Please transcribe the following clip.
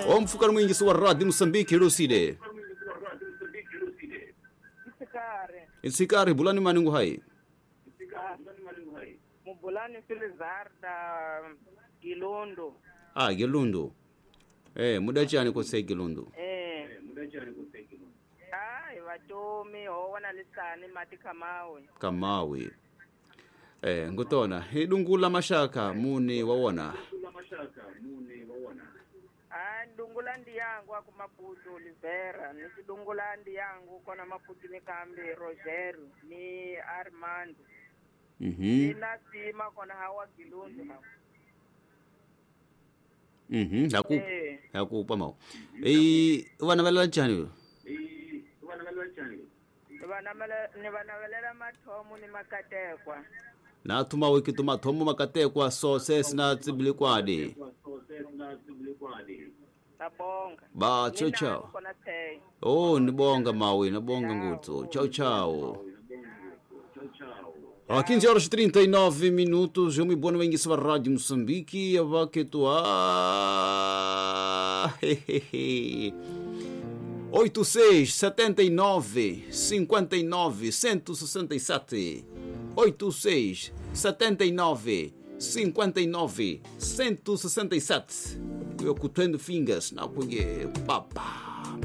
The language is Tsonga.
Omfukar mwingi wa Radio Mosambiki Ruside. Isikare. Isikare bulani maningu hai. Mubulani Filizarda Gilundo. Ah, Gilundo. Eh, muda chani kose Gilundo. Eh. Ai vatomi ho wana lisani mati kamawe. Kamawe. Eh, ngutona idungula mashaka muni wawona. Ah, ndungula ndi yangu aku Maputo Oliveira, ni kidungula ndi yangu kona Maputo ni kambi Rogério ni Armando. Ni nasima kona hawa Gilundo hawa. Haku Eh. haku pamao. Eh, wana vala chani. Ni vanavelela mathomo ni makatekwa. Na tuma wiki tuma thomo makatekwa so ses na tsibilikwadi. Nabonga. Ba chao Ni chao. nani kona tei. Oh, nibonga mawe, nabonga ngutso. Tchau, tchau. A 15 horas e 39 minutos, eu me boa no Enguiça Rádio Moçambique, a vaquetuá. 86 79 59 167 86 79 59 167. Eu cutando fingers, não porque papá.